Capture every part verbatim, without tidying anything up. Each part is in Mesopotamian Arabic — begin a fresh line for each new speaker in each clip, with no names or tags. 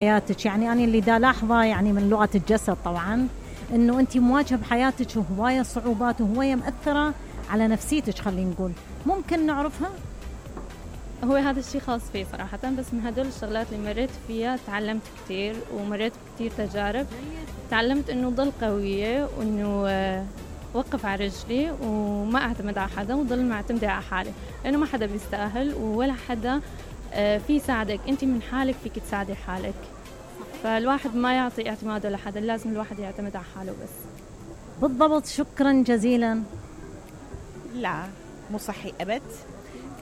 حياتك. يعني أنا اللي دا لاحظه يعني من لغة الجسد طبعا إنه أنت مواجهة بحياتك هواية صعوبات وهواية مأثرة على نفسيتك، خلينا نقول ممكن نعرفها؟
هو هذا الشيء خاص فيه صراحة، بس من هدول الشغلات اللي مريت فيها تعلمت كتير ومريت بكتير تجارب. تعلمت إنه ضل قوية وإنه وقف على رجلي وما أعتمد على حدا وضل معتمدة على حالي، لأنه ما حدا بيستاهل ولا حدا في يساعدك، أنت من حالك فيك تساعدي حالك. فالواحد ما يعطي اعتماده لحدا، لازم الواحد يعتمد على حاله بس.
بالضبط، شكرا جزيلا.
لا مو صحي أبد.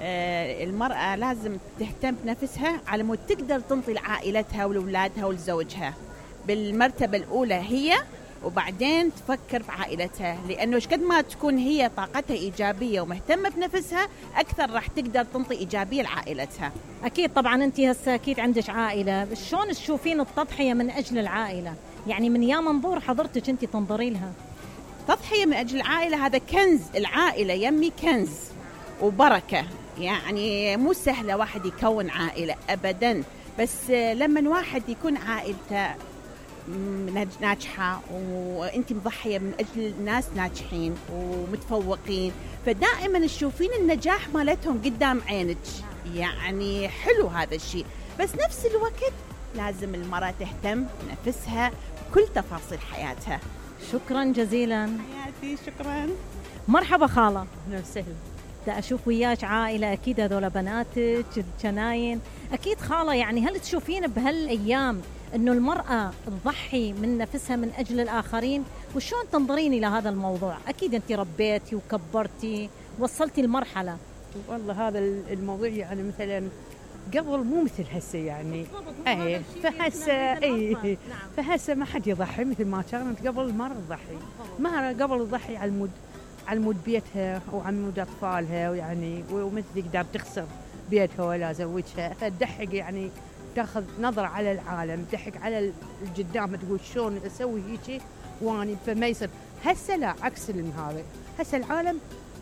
آه المرأة لازم تهتم بنفسها على مود تقدر تنطي لعائلتها ولأولادها ولزوجها بالمرتبة الأولى هي، وبعدين تفكر في عائلتها، لأنه قد ما تكون هي طاقتها إيجابية ومهتمة بنفسها أكثر راح تقدر تنطي إيجابية لعائلتها.
أكيد طبعا أنت هسه أكيد عندك عائلة، شلون تشوفين التضحية من أجل العائلة؟ يعني من يا منظور حضرتك أنت تنظري لها؟
تضحية من أجل العائلة هذا كنز، العائلة يمي كنز وبركة، يعني مو سهلة واحد يكون عائلة أبدا، بس لما واحد يكون عائلته ناجحة وانت مضحية من أجل ناس ناجحين ومتفوقين، فدائما تشوفين النجاح مالتهم قدام عينك، يعني حلو هذا الشيء. بس نفس الوقت لازم المرأة تهتم بنفسها بكل تفاصيل حياتها.
شكرا جزيلا
حياتي. شكرا.
مرحبا خالة.
أهلا وسهلا.
دا أشوف وياك عائلة، أكيد هذول بناتك الجناين، أكيد خالة. يعني هل تشوفين بهالأيام إنه المرأة تضحي من نفسها من أجل الآخرين؟ وشون تنظرين إلى هذا الموضوع؟ أكيد أنت ربيتي وكبرتي وصلتي المرحلة.
والله هذا الموضوع يعني مثلا قبل مو مثل هسه، يعني اي فهسه اي فهسه ما حد يضحي مثل ما كانت قبل. ما تضحي، ما قبل تضحي على المود على مود بيتها وعلى مود أطفالها، ويعني ومثل تقدر تخسر بيتها ولا زوجها، فتضحك يعني تاخذ نظرة على العالم، تضحك على القدام، تقول شلون أسوي هيك واني فما يصير. هسه لا، عكس هذا. هسه العالم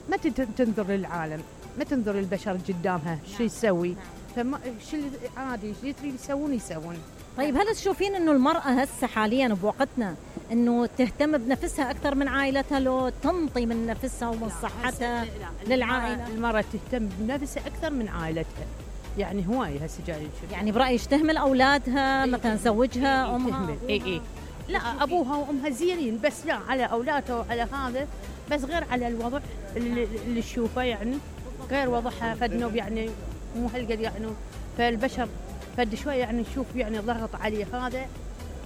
ما تنظر للعالم، ما تنظر للبشر قدامها شو يسوي، فما شو عادي شو تريد يسوون يسوون.
طيب هل تشوفين إنه المرأة هسه حاليا بوقتنا إنه تهتم بنفسها أكثر من عائلتها، لو تنطي من نفسها ومن صحتها للعائلة؟
المرأة تهتم بنفسها أكثر من عائلتها، يعني هواي هسه جاي نشوف.
يعني برأيك تهمل أولادها
إيه
مثلا زوجها
إيه
أمها؟
تهمل. إيه إيه لا أبوها وأمها زينين، بس لا على أولادها وعلى هذا، بس غير على الوضع اللي, اللي تشوفه، يعني غير وضعها فدنوب، يعني مو هالقد يعني. فالبشر فد شوي يعني نشوف يعني ضغط عليه، هذا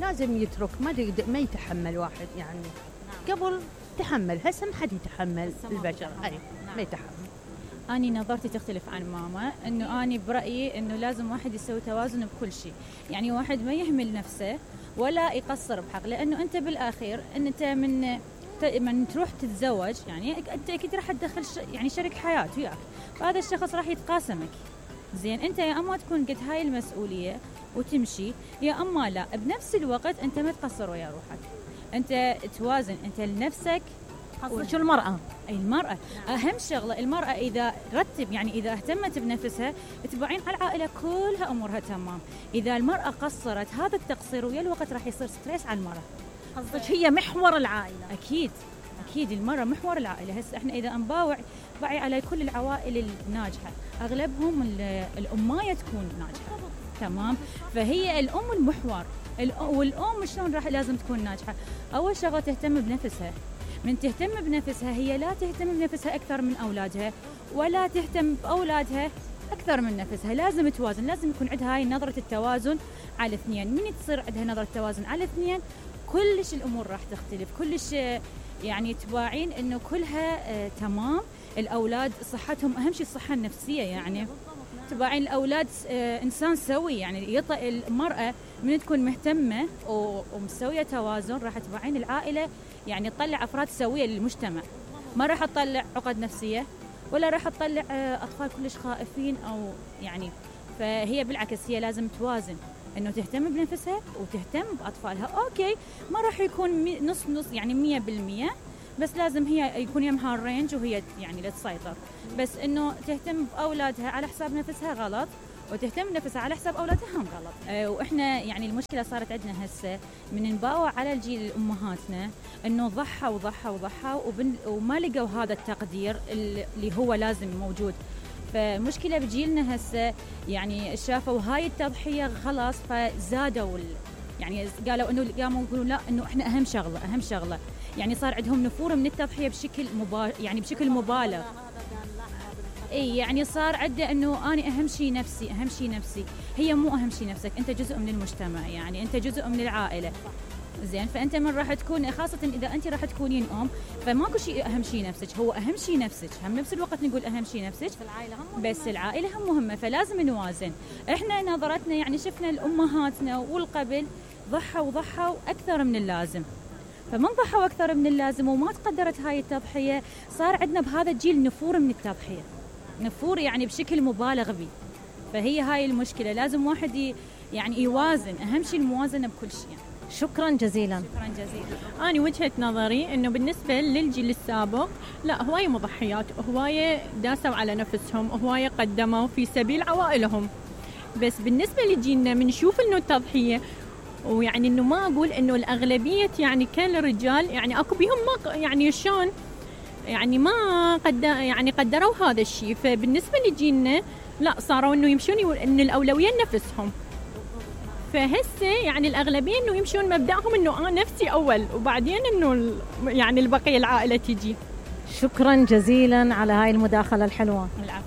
لازم يترك، ما ما يتحمل واحد يعني. قبل تحمل، هسه ما حد يتحمل البشر، أي ما يتحمل.
أني نظرتي تختلف عن ماما، إنه أني برأيي إنه لازم واحد يسوي توازن بكل شيء، يعني واحد ما يهمل نفسه ولا يقصر بحق، لأنه أنت بالآخير إن أنت من من تروح تتزوج، يعني أنت أكيد راح تدخل يعني شريك حياة وياك، فهذا الشخص راح يتقاسمك. زين أنت يا أما تكون قد هاي المسؤولية وتمشي، يا أما لا. بنفس الوقت أنت ما تقصر ويا روحك، أنت توازن أنت لنفسك.
شو المرأة؟
أي المرأة أهم شغلة. المرأة إذا رتب يعني إذا اهتمت بنفسها تبعين على العائلة كلها أمورها تمام. إذا المرأة قصرت، هذا التقصير ويا الوقت راح يصير ستريس على المرأة.
قصدك هي محور العائلة؟
أكيد أكيد المرأة محور العائلة. هسه إحنا إذا نباوع بعي على كل العوائل الناجحة، أغلبهم الأماية تكون ناجحة، تمام؟ فهي الأم المحور، والأم شلون راح لازم تكون ناجحة؟ أول شغلة تهتم بنفسها. من تهتم بنفسها هي لا تهتم بنفسها أكثر من أولادها، ولا تهتم بأولادها أكثر من نفسها. لازم توازن، لازم يكون عندها هاي نظرة التوازن على الاثنين. من تصير عندها نظرة التوازن على الاثنين كلش الأمور راح تختلف، كلش يعني تباعين إنه كلها آه تمام. الأولاد صحتهم أهم شيء، الصحة النفسية، يعني تباعين الأولاد آه إنسان سوي، يعني يطأ المرأة من تكون مهتمة ومسوية توازن راح تباعين العائلة، يعني تطلع أفراد سوية للمجتمع، ما راح تطلع عقد نفسية ولا راح تطلع آه أطفال كلش خائفين أو يعني. فهي بالعكس هي لازم توازن، إنه تهتم بنفسها وتهتم بأطفالها. أوكي ما راح يكون نص نص يعني مية بالمية، بس لازم هي يكون يمها الرينج وهي يعني لا تسيطر. بس إنه تهتم بأولادها على حساب نفسها غلط، وتهتم بنفسها على حساب اولادها هم غلط. أه واحنا يعني المشكله صارت عندنا هسه من نباوع على الجيل امهاتنا انه ضحى وضحى وضحى وما لقوا هذا التقدير اللي هو لازم موجود. فمشكله بجيلنا هسه يعني شافوا هاي التضحيه خلاص فزادوا يعني قالوا انه قاموا يقولوا لا انه احنا اهم شغله اهم شغله يعني صار عندهم نفور من التضحيه بشكل مبا... يعني بشكل مبالغ. اي يعني صار عنده انه انا اهم شيء نفسي اهم شيء نفسي. هي مو اهم شيء نفسك، انت جزء من المجتمع، يعني انت جزء من العائله. زين فانت من راح تكون خاصه اذا انت راح تكونين ام فماكو شيء اهم شيء نفسك، هو اهم شيء نفسك. هم نفس الوقت نقول اهم شيء نفسك بس العائله هم مهمه، فلازم نوازن. احنا نظرتنا يعني شفنا الامهاتنا والقبل ضحوا وضحوا اكثر من اللازم، فمن ضحوا اكثر من اللازم وما تقدرت هاي التضحيه صار عندنا بهذا الجيل نفور من التضحيه، نفور يعني بشكل مبالغ به. فهي هاي المشكله، لازم واحد يعني يوازن، اهم شيء الموازنه بكل شيء.
شكرا جزيلا.
شكرا جزيلا.
أنا وجهة نظري إنه بالنسبة للجيل السابق لا هواية مضحيات، هواية داسوا على نفسهم، هواية قدموا في سبيل عوائلهم. بس بالنسبة لجيلنا بنشوف إنه التضحية ويعني إنه ما أقول إنه الأغلبية يعني كان الرجال يعني أكو بهم ما يعني شلون يعني ما قد يعني قدروا هذا الشيء. فبالنسبة لجيلنا لا صاروا إنه يمشون إن الأولوية لنفسهم. فهسه يعني الأغلبية إنه يمشون مبدأهم إنه أنا نفسي أول وبعدين إنه يعني البقية العائلة تيجي.
شكرا جزيلا على هاي المداخلة الحلوة.
العفو.